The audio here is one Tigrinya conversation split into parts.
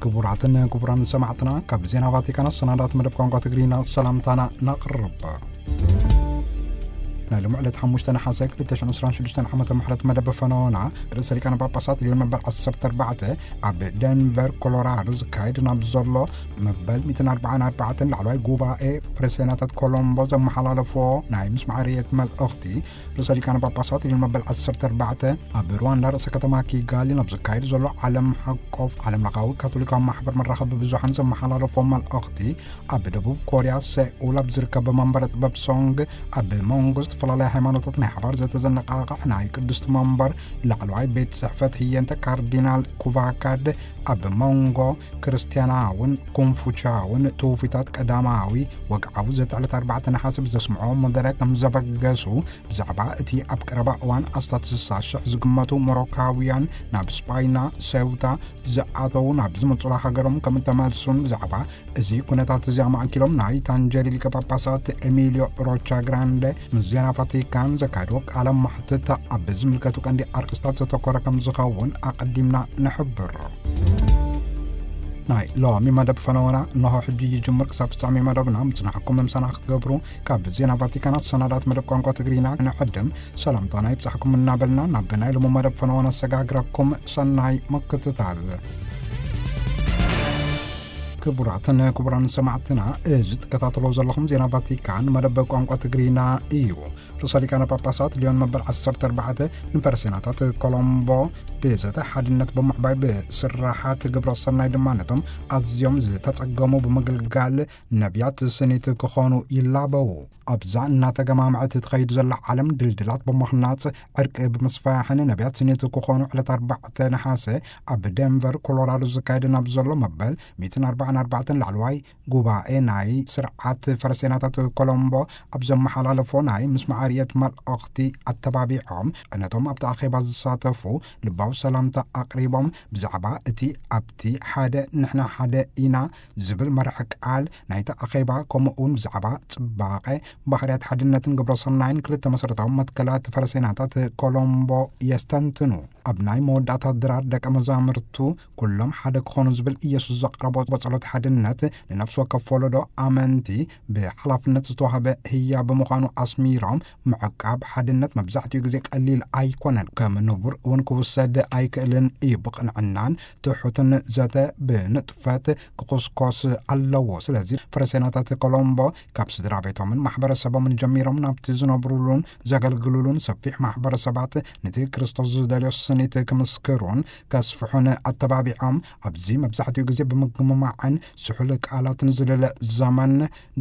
ክቡራትን ክቡራን ሰማዕትና፣ ካብ ዜና ቫቲካን ኣሰናዳት መደብ ቋንቋ ትግርኛ ሰላምታና ነቕርብ። ናይ ሎሚ ዕለት ሓሙሽተ ነሓሰ ክልተ ሽሕን ዕስራን ሽዱሽተን ዓመተ ምሕረት መደብ ፈነወና፣ ርእሰ ሊቃነ ጳጳሳት ልዮን መበል ዓሰርተ ኣርባዕተ ኣብ ደንቨር ኮሎራዶ ዝካየድ ናብ ዘሎ መበል ሚእትን ኣርባዓን ኣርባዕተን ላዕለዋይ ጉባኤ ፕሬስቴናታት ኮሎምቦ ዘመሓላለፎ ናይ ምስማዕ ርእየት መልእኽቲ፣ ርእሰ ሊቃነ ጳጳሳት ልዮን መበል ዓሰርተ ኣርባዕተ ኣብ ሩዋንዳ ርእሰ ከተማ ኪጋሊ ናብ ዝካየድ ዘሎ ዓለም ሓቆፍ ዓለም ለኻዊ ካቶሊካዊ ማሕበር መራኸቢ ብዙሓን ዘመሓላለፎ መልእኽቲ፣ ኣብ ደቡብ ኮርያ ሴኡል ኣብ ዝርከብ መንበረ ጥበብ ሶንግ ኣብ መንጎ ዝተፈላለያ ሃይማኖታት ናይ ሓባር ዘተዘነቃቕሕ ናይ ቅድስቲ መንበር ላዕለዋይ ቤት ጽሕፈት ህየንተ ካርዲናል ኩቫካድ ኣብ መንጎ ክርስትያናውን ኮንፉቻውን ትውፊታት ቀዳማዊ ወግዓዊ ዘተ ዕለት ኣርባዕተ ነሓሰ ብዘስምዖ መደረ ከም ዘበገሱ፣ ብዛዕባ እቲ ኣብ ቀረባ እዋን ኣስታት ስሳ ሽሕ ዝግመቱ ሞሮካውያን ናብ ስጳይና ሴውታ ዝኣተዉ ናብ ዝመጹላ ሃገሮም ከም እተመልሱን፣ ብዛዕባ እዚ ኩነታት እዚ ኣማእኪሎም ናይ ታንጀሪ ሊቀ ጳጳሳት ኤሚልዮ ሮቻ ግራንደ ምስ ዜና ቫቲካን ዘካየድዎ ቃለ መሕትት ኣብ ዝምልከቱ ቀንዲ ኣርእስታት ዘተኮረ ከም ዝኸውን ኣቐዲምና ንሕብር። ናይ ሎሚ መደብ ፈነወና እንሆ ሕጂ ይጅምር። ክሳብ ፍጻሜ መደብና ምጽናሕኩም ምሳና ክትገብሩ ካብ ዜና ቫቲካን ኣሰናዳት መደብ ቋንቋ ትግርኛ ንዕድም ሰላምታና ይብጻሕኩም እናበልና፣ ናብ ናይ ሎሚ መደብ ፈነወና ኣሰጋግረኩም። ሰናይ ምክትታል። ክቡራትን ክቡራን ሰማዕትና፣ እዚ ትከታተሎ ዘለኹም ዜና ቫቲካን መደብ ቋንቋ ትግርኛ እዩ። ርእሰ ሊቃነ ጳጳሳት ልዮን መበል ዓሰርተ ኣርባዕተ ንፈረሴናታት ኮሎምቦ ብዘተ ሓድነት ብምዕባይ ብስራሓት ግብረ ሰናይ ድማ ነቶም ኣዝዮም ዝተጸገሙ ብምግልጋል ነቢያት ስኒት ክኾኑ ይላበዉ። ኣብዛ እናተገማምዐት ትኸይድ ዘላ ዓለም ድልድላት ብምኽናጽ፣ ዕርቂ ብምስፋሕን ነቢያት ስኒት ክኾኑ ዕለት ኣርባዕተ ነሓሰ ኣብ ደንቨር ኮሎራዶ ዝካየድ ናብ ዘሎ መበል ሚእትን ኣርባዓን ኣርባዕተን ላዕለዋይ ጉባኤ ናይ ስርዓት ፈረሴናታት ኮሎምቦ ኣብ ዘመሓላለፎ ናይ ምስማዕ ርእየት መልእኽቲ ኣተባቢዖም፣ ነቶም ኣብቲ ኣኼባ ዝሳተፉ ልባዊ ሰላምታ ኣቕሪቦም፣ ብዛዕባ እቲ ኣብቲ ሓደ ንሕና ሓደ ኢና ዝብል መርሒ ቃል ናይቲ ኣኼባ፣ ከምኡ እውን ብዛዕባ ጽባቐ ባህርያት ሓድነትን ግብረ ሰናይን ክልተ መሰረታዊ መትከላት ፈረሴናታት ኮሎምቦ የስተንትኑ። ኣብ ናይ መወዳእታ ድራር ደቀ መዛሙርቱ ኩሎም ሓደ ክኾኑ ዝብል ኢየሱስ ዘቕረቦ ጸሎት ሓድነት፣ ንነፍሲ ወከፍ ወለዶ ኣመንቲ ብሓላፍነት ዝተዋህበ ህያ ብምዃኑ ኣስሚሮም፣ ምዕቃብ ሓድነት መብዛሕትኡ ግዜ ቀሊል ኣይኮነን፣ ከም ንቡር እውን ክውሰድ ኣይክእልን እዩ። ብቕንዕናን ትሑትን ዘተ ብንጥፈት ክኹስኮስ ኣለዎ። ስለዚ ፈረሴናታት ኮሎምቦ ካብ ስድራ ቤቶምን ማሕበረሰቦምን ጀሚሮም ናብቲ ዝነብሩሉን ዘገልግሉሉን ሰፊሕ ማሕበረሰባት ነቲ ክርስቶስ ዝደልዮ ስኒት ክምስክሩን ከስፍሑን ኣተባቢዖም፣ ኣብዚ መብዛሕትኡ ግዜ ብምግምማዕን ስሑል ቃላትን ዝልለ ዘመን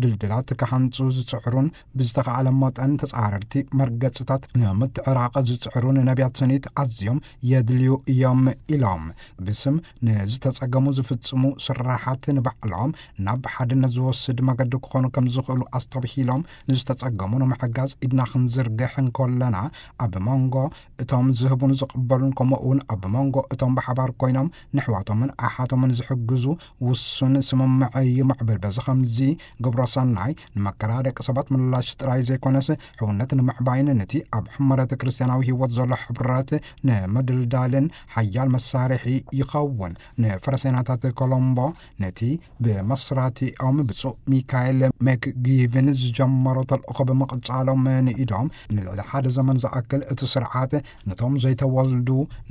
ድልድላት ክሃንጹ ዝጽዕሩን ብዝተኻእለ መጠን ተጻረርቲ መርገጽታት ንምትዕራቕ ዝጽዕሩን ነቢያት ስኒት ኣዝዮም የድልዩ እዮም ኢሎም። ብስም ንዝተጸገሙ ዝፍጽሙ ስራሓት ንባዕሎም ናብ ሓድነት ዝወስድ መገዲ ክኾኑ ከም ዝኽእሉ ኣስተብሂሎም፣ ንዝተጸገሙ ንምሕጋዝ ኢድና ክንዝርግሕ እንከለና፣ ኣብ መንጎ እቶም ዝህቡን ዝቕበሉን፣ ከምኡ እውን ኣብ መንጎ እቶም ብሓባር ኮይኖም ንሕዋቶምን ኣሓቶምን ዝሕግዙ ውሱን ስምምዕ ይምዕብል። በዚ ከምዚ ግብረ ሰናይ ንመከራ ደቂ ሰባት ምላሽ ጥራይ ዘይኮነስ፣ ሕውነት ንምዕባይን ነቲ ኣብ ሕመረት ክርስትያናዊ ህይወት ዘሎ ሕብረት ንምድልዳልን ሓያል መሳርሒ ይኸውን። ንፈረሴናታት ኮሎምቦ ነቲ ብመስራቲኦም ብፁዕ ሚካኤል መክጊቭን ዝጀመሮ ተልእኾ ብምቕጻሎም ንኢዶም፣ ንልዕሊ ሓደ ዘመን ዝኣክል እቲ ስርዓት ነቶም ዘይተወልዱ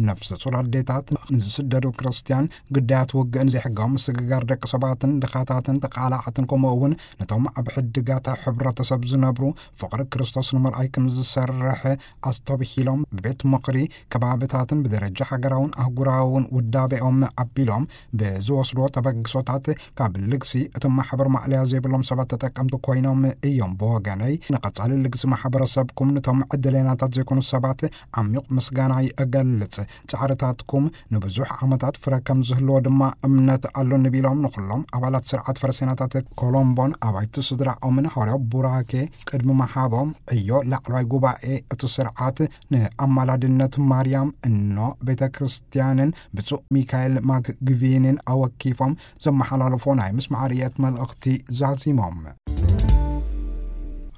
ነፍሰ ጹር ኣዴታት፣ ንዝስደዱ ክርስትያን፣ ግዳያት ውግእን ዘይሕጋዊ ምስግጋር ደቂ ሰባትን ድኻታትን ተቓላዕትን፣ ከምኡ እውን ነቶም ኣብ ሕድጋት ሕብረተሰብ ዝነብሩ ፍቕሪ ክርስቶስ ንምርኣይ ከም ዝሰርሕ ኣስተብሂሎም፣ ብቤት ምኽሪ ከባብታትን ብደረጃ ሃገራውን ኣህጉራውን ውዳቤኦም ኣቢሎም ብዝወስድዎ ተበግሶታት፣ ካብ ልግሲ እቶም ማሕበር ማእለያ ዘይብሎም ሰባት ተጠቀምቲ ኮይኖም እዮም። ብወገነይ፣ ንቐጻሊ ልግሲ ማሕበረሰብኩም፣ ነቶም ዕድለኛታት ዘይኮኑ ሰባት ዓሚቕ ምስጋና ይእገልጽ። ጻዕርታትኩም ንብዙሕ ዓመታት ፍረ ከም ዝህልዎ ድማ እምነት ኣሎኒ ቢሎም፣ ንኹሎም ኣባላት ስርዓት ፈረሴናታት ኮሎምቦን ኣባይቲ ስድራኦምን ሃዋርያዊ ቡራኬ ቅድሚ ምሃቦም፣ ዕዮ ላዕለዋይ ጉባኤ እቲ ስርዓት ንኣማላድነት ማርያም እኖ ቤተ ክርስቲያንን ብፁዕ ሚካኤል ማክግቪንን ኣወኪፎም ዘመሓላለፎ ናይ ምስማዕ ርእየት መልእኽቲ ዛዚሞም።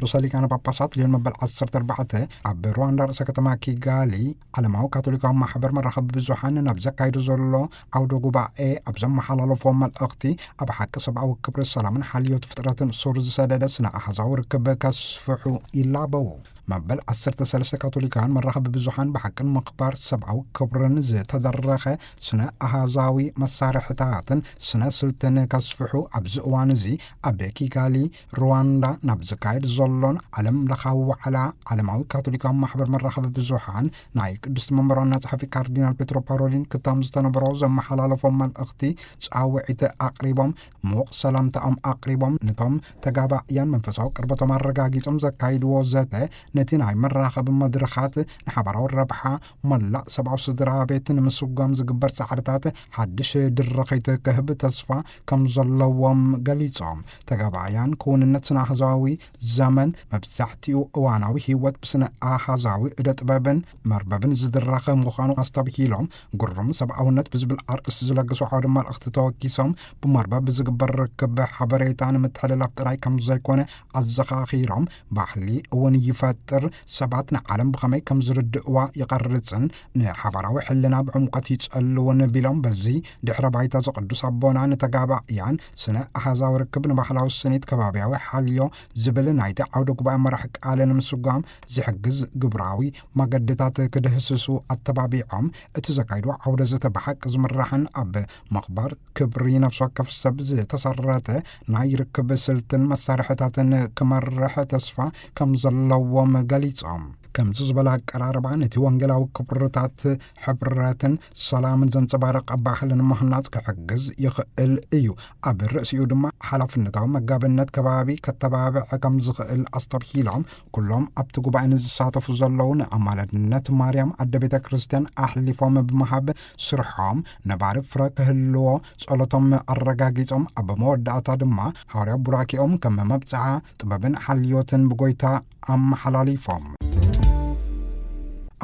ርእሰ ሊቃነ ጳጳሳት ሊዮን መበል ዓሰርተ ኣርባዕተ ኣብ ሩዋንዳ ርእሰ ከተማ ኪጋሊ ዓለማዊ ካቶሊካዊ ማሕበር መራኸቢ ብዙሓን ናብ ዘካይዶ ዘሎ ዓውደ ጉባኤ ኣብ ዘመሓላለፎ መልእኽቲ፣ ኣብ ሓቂ ሰብኣዊ ክብሪ፣ ሰላምን ሓልዮት ፍጥረትን ሱር ዝሰደደ ስነ ኣሃዛዊ ርክብ ከስፍሑ ይላበዉ። መበል ዓሰርተ ሰለስተ ካቶሊካውያን መራኸቢ ብዙሓን ብሓቅን ምኽባር ሰብኣዊ ክብርን ዝተደረኸ ስነ ኣሃዛዊ መሳርሕታትን ስነ ስልትን ከስፍሑ ኣብዚ እዋን እዚ ኣብ ኪጋሊ ሩዋንዳ ናብ ዝካየድ ዘሎን ዓለም ለኻዊ ዋዕላ ዓለማዊ ካቶሊካዊ ማሕበር መራኸቢ ብዙሓን ናይ ቅድስቲ መንበር ዋና ጸሓፊ ካርዲናል ፔትሮ ፓሮሊን ክታም ዝተነበሮ ዘመሓላለፎ መልእኽቲ ጻውዒት ኣቕሪቦም፣ ምዉቕ ሰላምታኦም ኣቕሪቦም፣ ነቶም ተጋባእያን መንፈሳዊ ቅርበቶም ኣረጋጊጾም ዘካይድዎ ዘተ ነቲ ናይ መራኸቢ መድረኻት ንሓባራዊ ረብሓ መላእ ሰብኣዊ ስድራ ቤት ንምስጓም ዝግበር ጻዕርታት ሓድሽ ድርኺት ክህብ ተስፋ ከም ዘለዎም ገሊጾም፣ ተጋባእያን ክውንነት ስነ ኣሃዛዊ ዘመን መብዛሕትኡ እዋናዊ ህይወት ብስነ ኣሃዛዊ እደ ጥበብን መርበብን ዝድረኸ ምዃኑ ኣስተብሂሎም፣ ግሩም ሰብኣውነት ብዝብል ኣርእስቲ ዝለገሱ ዓውደ መልእኽቲ ተወኪሶም፣ ብመርበብ ብዝግበር ርክብ ሓበሬታ ንምትሕልላፍ ጥራይ ከም ዘይኮነ ኣዘኻኺሮም፣ ባህሊ እውን ይፈጥር፣ ሰባት ንዓለም ብኸመይ ከም ዝርድእዋ ይቐርጽን ንሓባራዊ ሕልና ብዕምቆት ይጸልውን ቢሎም፣ በዚ ድሕረ ባይታ ዝቕዱስ ኣቦና ንተጋባእያን ስነ ኣሃዛዊ ርክብ ንባህላዊ ስኒት ከባብያዊ ሓልዮ ዝብል ናይቲ ዓውደ ጉባኤ መራሕ ቃል ንምስጓም ዝሕግዝ ግብራዊ መገድታት ክድህስሱ ኣተባቢዖም፣ እቲ ዘካይዶ ዓውደ ዘተ ብሓቂ ዝምራሕን ኣብ ምኽባር ክብሪ ነፍሲ ወከፍ ሰብ ዝተሰረተ ናይ ርክብ ስልትን መሳርሕታትን ክመርሕ ተስፋ ከም ዘለዎም ገሊጾም፣ ከምዚ ዝበለ ኣቀራርባ ነቲ ወንጌላዊ ክብርታት ሕብረትን ሰላምን ዘንጸባርቕ ባህልን ምህናጽ ክሕግዝ ይኽእል እዩ። ኣብ ርእሲኡ ድማ ሓላፍነታዊ መጋብነት ከባቢ ከተባብዕ ከም ዝኽእል ኣስተብሂሎም፣ ኩሎም ኣብቲ ጉባኤ ንዝሳተፉ ዘለዉ ንኣማላድነት ማርያም ኣደ ቤተ ክርስቲያን ኣሕሊፎም ብምሃብ ስርሖም ነባሪ ፍረ ክህልዎ ጸሎቶም ኣረጋጊጾም፣ ኣብ መወዳእታ ድማ ሃዋርያዊ ቡራኬኦም ከም መብጽዓ ጥበብን ሓልዮትን ብጎይታ ኣመሓላሊፎም።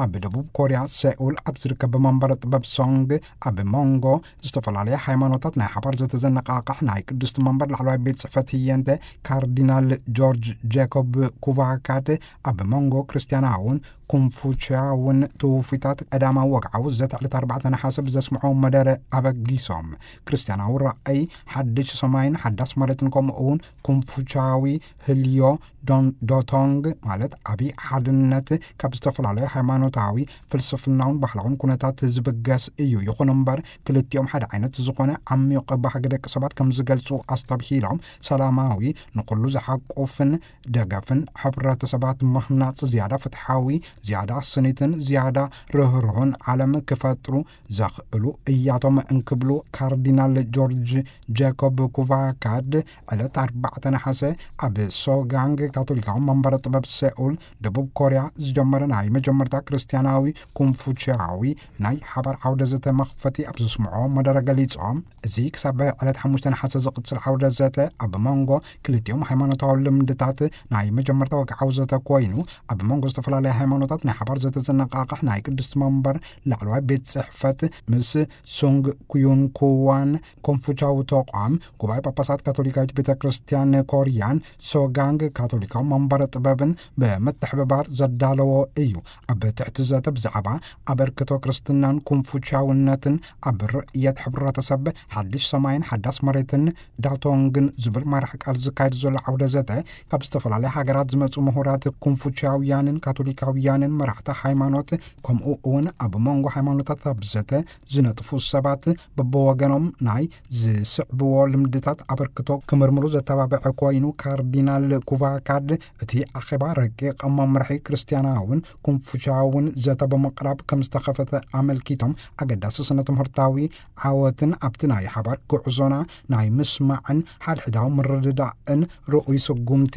ኣብ ደቡብ ኮርያ ሴኡል ኣብ ዝርከብ መንበረ ጥበብ ሶንግ ኣብ መንጎ ዝተፈላለያ ሃይማኖታት ናይ ሓባር ዘተዘነቃቕሕ ናይ ቅድስቲ መንበር ላዕለዋይ ቤት ጽሕፈት ህየንተ ካርዲናል ጆርጅ ጄኮብ ኩቫካድ ኣብ መንጎ ክርስትያናውን ኮንፉችያውን ትውፊታት ቀዳማዊ ወግዓዊ ዘተ ዕለት ኣርባዕተ ነሓሰ ብዘስምዖ መደረ ኣበጊሶም፣ ክርስትያናዊ ራእይ ሓድሽ ሰማይን ሓዳስ መሬትን ከምኡ እውን ኮንፉችያዊ ህልዮ ዶን ዶቶንግ ማለት ዓቢ ሓድነት ካብ ዝተፈላለዩ ሃይማኖታዊ ፍልስፍናውን ባህላውን ኩነታት ዝብገስ እዩ። ይኹን እምበር ክልቲኦም ሓደ ዓይነት ዝኾነ ዓሚቕ ባህጊ ደቂ ሰባት ከም ዝገልጹ ኣስተብሂሎም፣ ሰላማዊ ንኹሉ ዝሓቁፍን ደገፍን ሕብረተሰባት ምህናጽ ዝያዳ ፍትሓዊ፣ ዝያዳ ስኒትን ዝያዳ ርህሩህን ዓለም ክፈጥሩ ዘኽእሉ እያቶም እንክብሉ ካርዲናል ጆርጅ ጄኮብ ኩቫካድ ዕለት ኣርባዕተ ነሓሰ ኣብ ሶጋንግ ካቶሊካዊ መንበረ ጥበብ ሴኡል ደቡብ ኮርያ ዝጀመረ ናይ መጀመርታ ክርስትያናዊ ኮንፉችያዊ ናይ ሓባር ዓውደ ዘተ መኽፈቲ ኣብ ዘስምዖ መደረ ገሊጾም፣ እዚ ክሳብ ዕለት ሓሙሽተ ነሓሰ ዝቕጽል ዓውደ ዘተ ኣብ መንጎ ክልቲኦም ሃይማኖታዊ ልምድታት ናይ መጀመርታ ወግዓዊ ዘተ ኮይኑ፣ ኣብ መንጎ ዝተፈላለዩ ሃይማኖታት ናይ ሓባር ዘተ ዘነቃቕሕ ናይ ቅድስቲ መንበር ላዕለዋይ ቤት ጽሕፈት ምስ ሱንግ ኩዩንኩዋን ኮንፉቻዊ ተቋም ጉባኤ ጳጳሳት ካቶሊካዊት ቤተ ክርስቲያን ኮርያን ሶጋንግ ካቶሊካዊ መንበረ ጥበብን ብምትሕብባር ዘዳለዎ እዩ። ኣብ ትሕቲ ዘተ ብዛዕባ ኣበርክቶ ክርስትናን ኮንፉቻውነትን ኣብ ርእየት ሕብረተሰብ ሓድሽ ሰማይን ሓዳስ መሬትን ዳቶንግን ዝብል መራሕ ቃል ዝካየድ ዘሎ ዓውደ ዘተ ካብ ዝተፈላለያ ሃገራት ዝመጹ ምሁራት ኮንፉቻውያንን ካቶሊካውያንን መራሕቲ ሃይማኖት፣ ከምኡ እውን ኣብ መንጎ ሃይማኖታት ኣብ ዘተ ዝነጥፉ ሰባት በብወገኖም ናይ ዝስዕብዎ ልምድታት ኣበርክቶ ክምርምሩ ዘተባብዐ ኮይኑ፣ ካርዲናል ኩቫካድ እቲ ኣኼባ ረቂቕ መምርሒ ክርስትያናውን ኮንፉቻውን ዘተ ብምቕራብ ከም ዝተኸፈተ ኣመልኪቶም፣ ኣገዳሲ ስነ ትምህርታዊ ዓወትን ኣብቲ ናይ ሓባር ጉዕዞና ናይ ምስማዕን ሓድሕዳዊ ምርድዳእን ርኡይ ስጉምቲ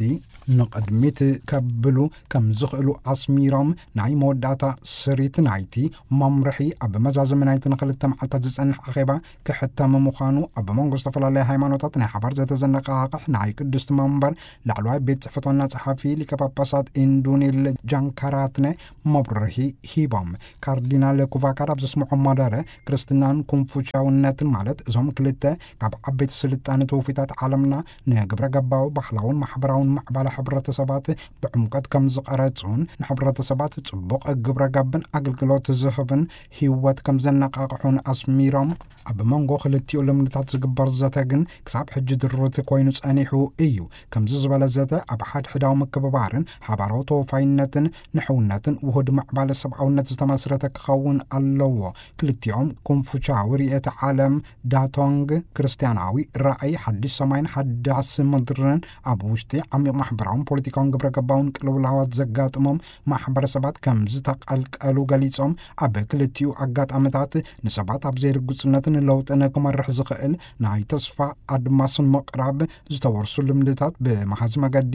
ንቕድሚት ከብሉ ከም ዝኽእሉ ኣስሚሮም፣ ናይ መወዳእታ ስሪት ናይቲ መምርሒ ኣብ መዛዘሚ ናይቲ ንክልተ መዓልታት ዝጸንሕ ኣኼባ ክሕተም ምዃኑ፣ ኣብ መንጎ ዝተፈላለያ ሃይማኖታት ናይ ሓባር ዘተዘነቃቕሕ ናይ ቅዱስ መንበር ላዕለዋይ ቤት ጽሕፈት ዋና ጸሓፊ ሊቀ ጳጳሳት ኢንዱኒል ጃንካራትነ መብርሂ ሂቦም። ካርዲናል ኩቫካር ኣብ ዘስምዖ መደረ፣ ክርስትናን ኮንፉሽያውነትን፣ ማለት እዞም ክልተ ካብ ዓበይቲ ስልጣነ ትውፊታት ዓለምና፣ ንግብረ ገባዊ ባህላውን ማሕበራውን ምዕባለ ሕብረተሰባት ብዕምቀት ከም ዝቐረጹን፣ ንሕብረተሰባት ጽቡቕ ግብረ ጋብን ኣገልግሎት ዝህብን ህይወት ከም ዘነቃቕሑን ኣስሚሮም፣ ኣብ መንጎ ክልቲኡ ልምድታት ዝግበር ዘተ ግን ክሳብ ሕጂ ድሩት ኮይኑ ጸኒሑ እዩ። ከምዚ ዝበለ ዘተ ኣብ ሓድሕዳዊ ምክብባርን ሓባራዊ ተወፋይነትን ንሕውነትን ውሁድ ምዕባለ ሰብኣውነት ዝተመስረተ ክኸውን ኣለዎ። ክልቲኦም ኮንፉሻዊ ርእየተ ዓለም፣ ዳቶንግ፣ ክርስትያናዊ ራእይ ሓድሽ ሰማይን ሓዳስ ምድርን፣ ኣብ ውሽጢ ዓሚቕ ማሕበራውን ፖለቲካውን ግብረ ገባውን ቅልውላዋት ዘጋጥሞም ማሕበረሰባት ከም ዝተቐልቀሉ ገሊጾም፣ ኣብ ክልቲኡ ኣጋጣሚታት ንሰባት ኣብ ዘይርጉጽነትን ለውጥን ክመርሕ ዝኽእል ናይ ተስፋ ኣድማስ ምቕራብ ዝተወርሱ ልምድታት ብመሃዚ መገዲ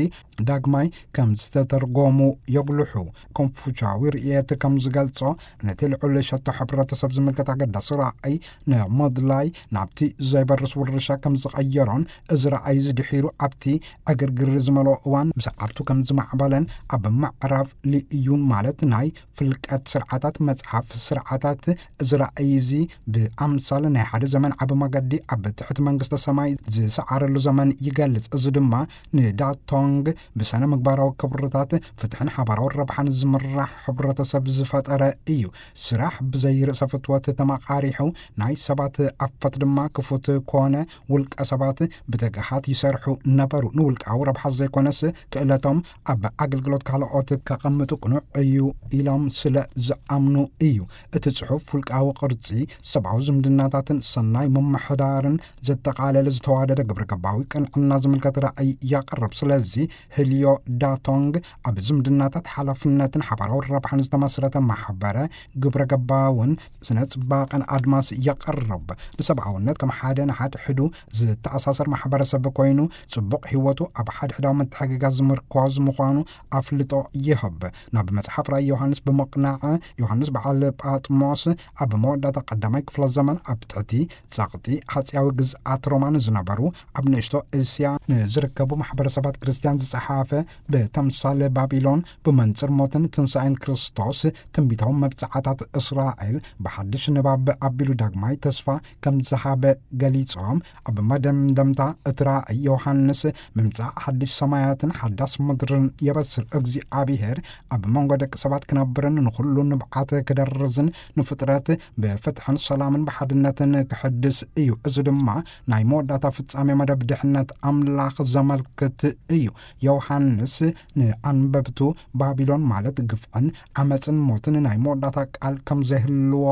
ዳግማይ ከም ዝተተርጎሙ የጉልሑ። ኮንፉቻዊ ርእየት ከም ዝገልጾ፣ ነቲ ልዑል ሸቶ ሕብረተሰብ ዝምልከት ኣገዳሲ ራእይ ንምድላይ ናብቲ ዘይበርስ ውርሻ ከም ዝቐየሮን፣ እዚ ራእይ እዚ ድሒሩ ኣብቲ ዕግርግር ዝመልኦ እዋን ብሰዓብቱ ከም ዝማዕበለን፣ ኣብ ምዕራብ ልእዩን፣ ማለት ናይ ፍልቀት ስርዓታት መጽሓፍ ስርዓታት፣ እዚ ራእይ እዚ ብኣምሳል ናይ ሓደ ዘመን ዓቢ መገዲ ኣብ ትሕቲ መንግስተ ሰማይ ዝሰዓረሉ ዘመን ይገልጽ። እዚ ድማ ንዳቶንግ ብሰነ ምግባራዊ ክብርታት፣ ፍትሕን ሓባራዊ ረብሓን ዝምራሕ ሕብረተሰብ ዝፈጠረ እዩ። ስራሕ ብዘይ ርእሰ ፍትወት ተመቓሪሑ፣ ናይ ሰባት ኣፈት ድማ ክፉት ኮነ። ውልቀ ሰባት ብትግሃት ይሰርሑ ነበሩ። ንውልቃዊ ረብሓ ዘይኮነስ፣ ክእለቶም ኣብ ኣገልግሎት ካልኦት ከቐምጡ ቅኑዕ እዩ ኢሎም ስለ ዝኣምኑ እዩ። እቲ ጽሑፍ ውልቃዊ ቅርጺ፣ ሰብኣዊ ዝምድናታትን ሰናይ ምምሕዳርን ዘጠቓለለ ዝተዋደደ ግብረ ገባዊ ቅንዕና ዝምልከት ራእይ ያቕርብ። ስለዚ ህልዮ ዳቶንግ ኣብ ዝምድናታት ሓላፍነትን ሓባራዊ ረብሓን ዝተመስረተ ማሕበረ ግብረ ገባውን ስነ ጽባቐን ኣድማስ የቕርብ። ንሰብኣውነት ከም ሓደ ንሓድሕዱ ዝተኣሳሰር ማሕበረሰብ ኮይኑ፣ ጽቡቕ ህይወቱ ኣብ ሓድሕዳዊ ምትሕግጋዝ ዝምርኮዝ ምዃኑ ኣፍልጦ ይህብ። ናብ መጽሓፍ ራእይ ዮሃንስ ብምቕናዕ፣ ዮሃንስ በዓል ጳጥሞስ ኣብ መወዳእታ ቀዳማይ ክፍለ ዘመን ኣብ ትሕቲ ጸቕጢ ሃጽያዊ ግዝኣት ሮማ ንዝነበሩ ኣብ ንእሽቶ እስያ ንዝርከቡ ማሕበረሰባት ክርስትያን ዝጸሓፈ፣ ብተምሳል ባቢሎን፣ ብመንጽር ሞትን ትንሳኤን ክርስቶስ፣ ትንቢታዊ መብጽዓታት እስራኤል ብሓድሽ ንባብ ኣቢሉ ዳግማይ ተስፋ ከም ዝሃበ ገሊጾም፣ ኣብ መደምደምታ እቲ ራእይ ዮሃንስ ምምጻእ ሓድሽ ሰማያትን ሓዳስ ምድርን የበስር። እግዚኣብሔር ኣብ መንጎ ደቂ ሰባት ክነብርን ንኹሉ ንብዓት ክደርዝን ንፍጥረት ብፍትሕን ሰላምን ብሓድነትን ክሕድስ እዩ። እዚ ድማ ናይ መወዳእታ ፍጻሜ መደብ ድሕነት ኣምላኽ ዘመልክት እዩ። ዮሃንስ ንኣንበብቱ፣ ባቢሎን ማለት ግፍዕን ዓመጽን ሞትን ናይ መወዳእታ ቃል ከም ዘይህልዎ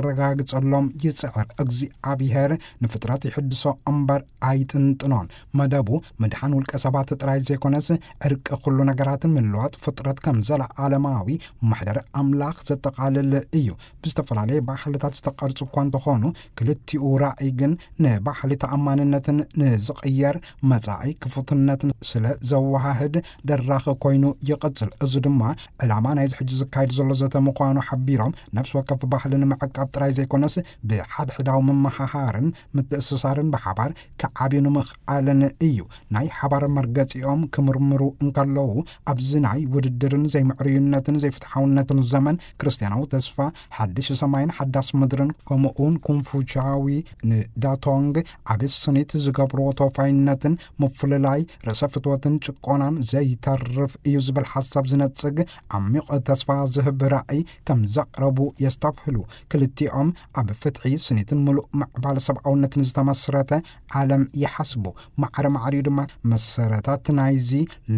ከረጋግጸሎም ይጽዕር። እግዚኣብሔር ንፍጥረት ይሕድሶ እምበር ኣይጥንጥኖን። መደቡ ምድሓን ውልቀ ሰባት ጥራይ ዘይኮነስ፣ ዕርቂ ኩሉ ነገራትን ምልዋጥ ፍጥረት ከም ዘለዓለማዊ ማሕደር ኣምላኽ ዘጠቓልል እዩ። ብዝተፈላለየ ባህልታት ዝተቐርጹ እኳ እንተኾኑ፣ ክልቲኡ ራእይ ግን ንባህሊ ተኣማንነትን ንዝቕየር መጻኢ ክፉትነትን ስለ ዘወሃህድ ደራኺ ኮይኑ ይቕጽል። እዚ ድማ ዕላማ ናይዚ ሕጂ ዝካየድ ዘሎ ዘተ ምዃኑ ሓቢሮም፣ ነፍሲ ወከፍ ባህሊ ንምዕቃብ ጥራይ ዘይኮነስ፣ ብሓድሕዳዊ ምምሃሃርን ምትእስሳርን ብሓባር ክዓብዩ ንምኽኣልን እዩ። ናይ ሓባር መርገጺኦም ክምርምሩ እንከለዉ፣ ኣብዚ ናይ ውድድርን ዘይምዕሩይነትን ዘይፍትሓውነትን ዘመን፣ ክርስትያናዊ ተስፋ፣ ሓድሽ ሰማይን ሓዳስ ምድርን፣ ከምኡውን ኮንፉቻዊ ንዳቶንግ ዓቢ ስኒት ዝገብርዎ ተወፋይነትን ምፍልላይ፣ ርእሰ ፍትወትን ጭቆናን ዘይተርፍ እዩ ዝብል ሓሳብ ዝነጽግ ዓሚቕ ተስፋ ዝህብ ራእይ ከም ዘቕረቡ የስተብህሉ። ክልቲኦም ኣብ ፍትሒ፣ ስኒትን ምሉእ ምዕባለ ሰብኣውነትን ዝተመስረተ ዓለም ይሓስቡ። ማዕረ ማዕሪኡ ድማ መሰረታት ናይዚ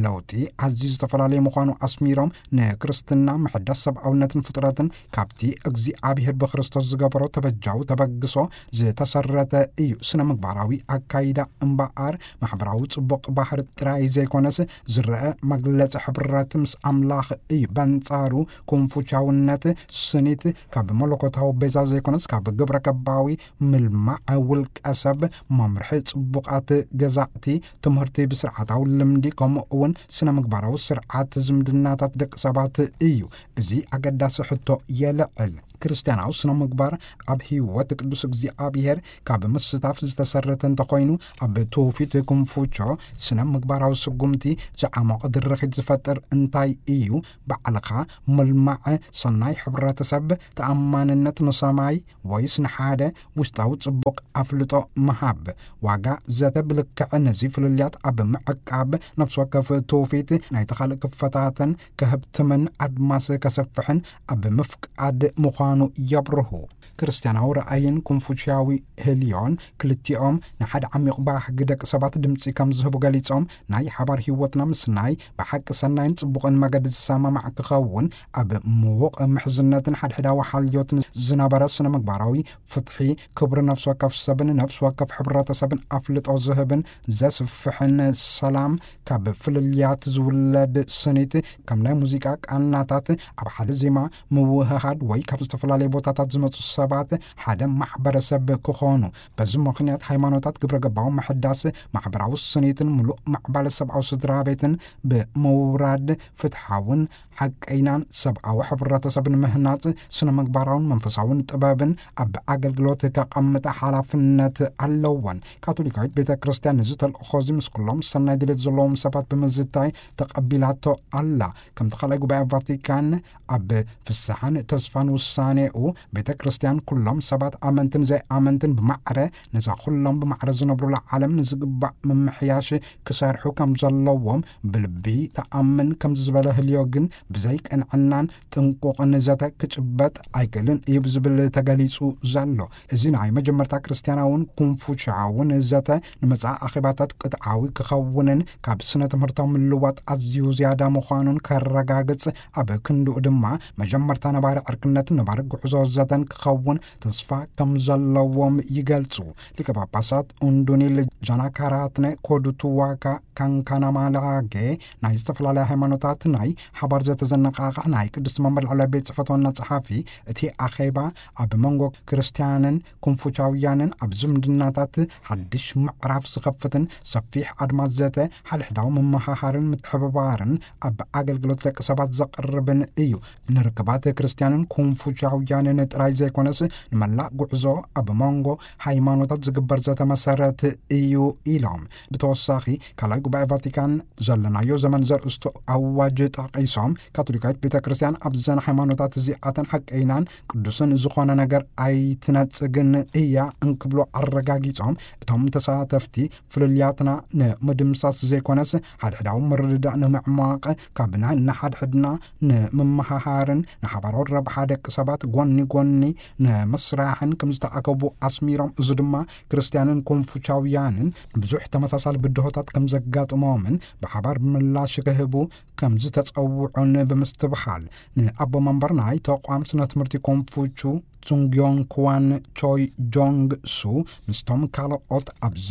ለውጢ ኣዝዩ ዝተፈላለየ ምዃኑ ኣስሚሮም፣ ንክርስትና ምሕዳስ ሰብኣውነትን ፍጥረትን ካብቲ እግዚኣብሔር ብክርስቶስ ዝገበሮ ተበጃዊ ተበግሶ ዝተሰረተ እዩ። ስነ ምግባራዊ ኣካይዳ እምበኣር፣ ማሕበራዊ ጽቡቕ ባህሪ ጥራይ ዘይኮነስ፣ ዝረአ መግለጺ ሕብረት ምስ ኣምላኽ እዩ። በንጻሩ፣ ኮንፉቻውነት ስኒት ካብ መለኮታዊ ቤዛ ዘይኮነስ፣ ካብ ግብረ ገባዊ ምልማዕ ውልቀ ሰብ፣ መምርሒ ጽቡቓት ገዛእቲ፣ ትምህርቲ ብስርዓታዊ ልምዲ፣ ከምኡ እውን ስነ ምግባራዊ ስርዓት ዝምድናታት ደቂ ሰባት እዩ። እዚ ኣገዳሲ ሕቶ የልዕል። ክርስትያናዊ ስነ ምግባር ኣብ ህይወት ቅዱስ እግዚኣብሔር ካብ ምስታፍ ዝተሰረተ እንተኾይኑ፣ ኣብ ትውፊት ኩንፉቾ ስነ ምግባራዊ ስጉምቲ ዝዓሞቐ ድርኺት ዝፈጥር እንታይ እዩ? ባዕልኻ ምልማዕ፣ ሰናይ ሕብረተሰብ፣ ተኣማንነት ንሰማይ ወይስ ንሓደ ውሽጣዊ ጽቡቕ ኣፍልጦ ምሃብ? ዋጋ ዘተ ብልክዕ ነዚ ፍልልያት ኣብ ምዕቃብ፣ ነፍሲ ወከፍ ትውፊት ናይቲ ካልእ ክፈታተን ከህብትምን ኣድማስ ከሰፍሕን ኣብ ምፍቃድ ምዃኑ የብርሁ። ክርስትያናዊ ራእይን ኩንፉሽያዊ ህልዮን ክልቲኦም ንሓደ ዓሚቕ ባህጊ ደቂ ሰባት ድምጺ ከም ዝህቡ ገሊጾም፣ ናይ ሓባር ህይወትና ምስናይ ብሓቂ ሰናይን ጽቡቕን መገዲ ዝሰማማዕ ክኸውን፣ ኣብ ምዉቕ ምሕዝነትን ሓድሕዳዊ ሓልዮትን ዝነበረ ስነ ምግባራዊ ፍትሒ፣ ክብሪ ነፍሲ ወከፍ ሰብን ነፍሲ ወከፍ ሕብረተሰብን ኣፍልጦ ዝህብን ዘስፍሕን፣ ሰላም ካብ ፍልልያት ዝውለድ ስኒት፣ ከም ናይ ሙዚቃ ቃናታት ኣብ ሓደ ዜማ ምውህሃድ ወይ ካብ ዝተፈላለዩ ቦታታት ዝመጹ ሰባት ሓደ ማሕበረሰብ ክኾኑ። በዚ ምኽንያት ሃይማኖታት ግብረ ገባዊ ምሕዳስ፣ ማሕበራዊ ስኒትን ምሉእ ማዕባለ ሰብኣዊ ስድራ ቤትን ብምውራድ ፍትሓውን ሓቀይናን ሰብኣዊ ሕብረተሰብን ምህናጽ ስነ ምግባራውን መንፈሳውን ጥበብን ኣብ ኣገልግሎት ከቐምጣ ሓላፍነት ኣለወን። ካቶሊካዊት ቤተ ክርስቲያን ነዚ ተልእኾ እዚ ምስ ኩሎም ሰናይ ድሌት ዘለዎም ሰባት ብምዝታይ ተቐቢላቶ ኣላ። ከምቲ ካልኣይ ጉባኤ ቫቲካን ኣብ ፍስሓን ተስፋን ውሳኔኡ፣ ቤተ ክርስቲያን ኩሎም ሰባት ኣመንትን ዘይኣመንትን ብማዕረ ነዛ ኩሎም ብማዕረ ዝነብሩላ ዓለም ንዝግባእ ምምሕያሽ ክሰርሑ ከም ዘለዎም ብልቢ ተኣምን። ከምዚ ዝበለ ህልዮ ግን ብዘይ ቅንዕናን ጥንቁቕን ዘተ ክጭበጥ ኣይክእልን እዩ ብዝብል ተገሊጹ ዘሎ። እዚ ናይ መጀመርታ ክርስትያናውን ኩንፉሻውን ዘተ ንመጻኢ ኣኼባታት ቅጥዓዊ ክኸውንን ካብ ስነ ትምህርታዊ ምልዋጥ ኣዝዩ ዝያዳ ምዃኑን ከረጋግጽ፣ ኣብ ክንድኡ ድማ መጀመርታ ነባሪ ዕርክነትን ነባሪ ጉዕዞ ዘተን ክኸውን ተስፋ ከም ዘለዎም ይገልጹ። ሊቀ ጳጳሳት ኡንዱኒል ጃናካራትነ ኮዱቱዋካ ካንካናማላጌ ናይ ዝተፈላለያ ሃይማኖታት ናይ ሓባር ዘተ ዘነቓቕሕ ናይ ቅድስቲ መንበር ላዕለዋይ ቤት ጽሕፈት ዋና ጸሓፊ፣ እቲ ኣኼባ ኣብ መንጎ ክርስትያንን ኩንፉቻውያንን ኣብ ዝምድናታት ሓድሽ ምዕራፍ ዝኸፍትን ሰፊሕ ኣድማስ ዘተ፣ ሓድሕዳዊ ምምሃሃርን ምትሕብባርን ኣብ ኣገልግሎት ደቂ ሰባት ዘቕርብን እዩ። ንርክባት ክርስትያንን ኩንፉቻውያንን ጥራይ ዘይኮነስ፣ ንመላእ ጉዕዞ ኣብ መንጎ ሃይማኖታት ዝግበር ዘተ መሰረት እዩ ኢሎም። ብተወሳኺ፣ ካልኣይ ጉባኤ ቫቲካን ዘለናዮ ዘመን ዘርእስቱ ኣዋጅ ጠቒሶም፣ ካቶሊካዊት ቤተ ክርስቲያን ኣብዘን ሃይማኖታት እዚኣተን ሓቀይናን ቅዱስን ዝኾነ ነገር ኣይትነጽግን እያ እንክብሉ ኣረጋጊጾም፣ እቶም ተሳተፍቲ ፍልልያትና ንምድምሳስ ዘይኮነስ፣ ሓድሕዳዊ ምርድዳእ ንምዕማቕ፣ ካብ ናይ ንሓድሕድና ንምምሃሃርን ንሓባራዊ ረብሓ ደቂ ሰባት ጎኒ ጎኒ ንምስራሕን ከም ዝተኣከቡ ኣስሚሮም፣ እዚ ድማ ክርስትያንን ኮንፉቻውያንን ብዙሕ ተመሳሳሊ ብድሆታት ከም ዘጋጥሞምን ብሓባር ምላሽ ክህቡ ከም ዝተጸውዑን ብምስትብሃል፣ ንኣቦ መንበር ናይ ተቋም ስነ ትምህርቲ ኮንፉቹ ጹንግዮን ክዋን ቾይ ጆንግ ሱ ምስቶም ካልኦት ኣብዚ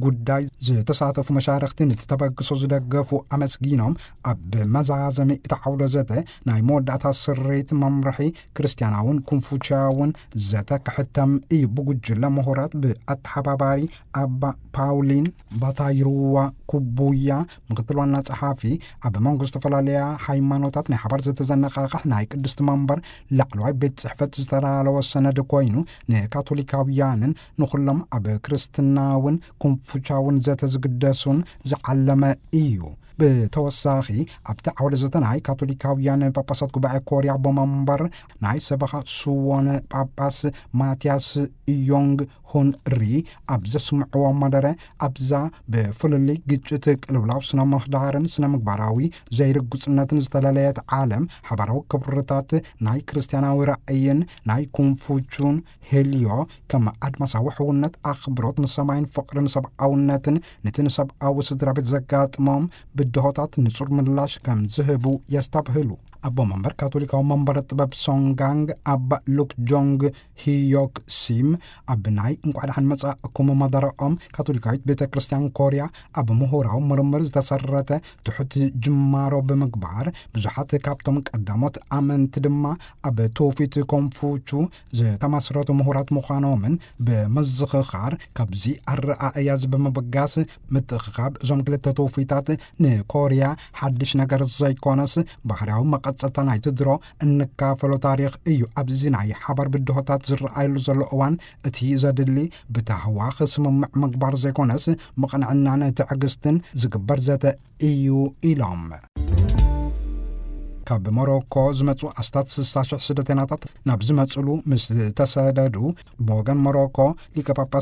ጉዳይ ዝተሳተፉ መሻርኽቲ ነቲ ተበግሶ ዝደገፉ ኣመስጊኖም፣ ኣብ መዛዘሚ እቲ ዓውደ ዘተ ናይ መወዳእታ ስርሪት መምርሒ ክርስትያናውን ኮንፉቻያውን ዘተ ክሕተም እዩ። ብጉጅለ ምሁራት ብኣተሓባባሪ ኣባ ፓውሊን ባታይሩዋ ኩቡያ፣ ምክትል ዋና ጸሓፊ፣ ኣብ መንጎ ዝተፈላለያ ሃይማኖታት ናይ ሓባር ዘተ ዘነቓቕሕ ናይ ቅድስቲ መንበር ላዕለዋይ ቤት ጽሕፈት ዝተዳለወ ሰነድ ኮይኑ፣ ንካቶሊካውያንን ንኹሎም ኣብ ክርስትናውን ኮንፉቻውን ዘተ ዝግደሱን ዝዓለመ እዩ። ብተወሳኺ፣ ኣብቲ ዓውደ ዘተ ናይ ካቶሊካውያን ጳጳሳት ጉባኤ ኮርያ ኣቦ መንበር ናይ ሰበኻ ስዎን ጳጳስ ማትያስ ኢዮንግ ሁን ሪ ኣብ ዘስምዕዎ መደረ፣ ኣብዛ ብፍልልይ ግጭት፣ ቅልውላው ስነ ምህዳርን ስነ ምግባራዊ ዘይርጉጽነትን ዝተለለየት ዓለም፣ ሓባራዊ ክብርታት ናይ ክርስትያናዊ ራእይን ናይ ኮንፉቹን ሄልዮ፣ ከም ኣድማሳዊ ሕውነት፣ ኣኽብሮት ንሰማይን ፍቕሪ ንሰብኣውነትን፣ ነቲ ንሰብኣዊ ስድራ ቤት ዘጋጥሞም ብድሆታት ንጹር ምላሽ ከም ዝህቡ የስተብህሉ። ኣቦ መንበር ካቶሊካዊ መንበረ ጥበብ ሶንጋንግ ኣባ ሉክ ጆንግ ሂዮክ ሲም ኣብ ናይ እንቋዕ ደሓን መጻእኩም መደረኦም፣ ካቶሊካዊት ቤተ ክርስቲያን ኮርያ ኣብ ምሁራዊ ምርምር ዝተሰረተ ትሑት ጅማሮ ብምግባር፣ ብዙሓት ካብቶም ቀዳሞት ኣመንቲ ድማ ኣብ ትውፊት ኮንፉቹ ዝተመስረቱ ምሁራት ምዃኖምን ብምዝኽኻር፣ ካብዚ ኣረኣእያ እዚ ብምብጋስ፣ ምትእኽኻብ እዞም ክልተ ትውፊታት ንኮርያ ሓድሽ ነገር ዘይኮነስ፣ ባህርያዊ መቐ ጸጥታ ናይቲ ድሮ እንካፈሎ ታሪኽ እዩ። ኣብዚ ናይ ሓባር ብድሆታት ዝረኣየሉ ዘሎ እዋን እቲ ዘድሊ ብታህዋኽ ስምምዕ ምግባር ዘይኮነስ ምቕንዕናን ትዕግስትን ዝግበር ዘተ እዩ ኢሎም። ካብ ሞሮኮ ዝመጹ ኣስታት ስሳ ሽሕ ስደተናታት ናብ ዝመጹሉ ምስ ተሰደዱ ብወገን ሞሮኮ ሊቀ ጳጳስ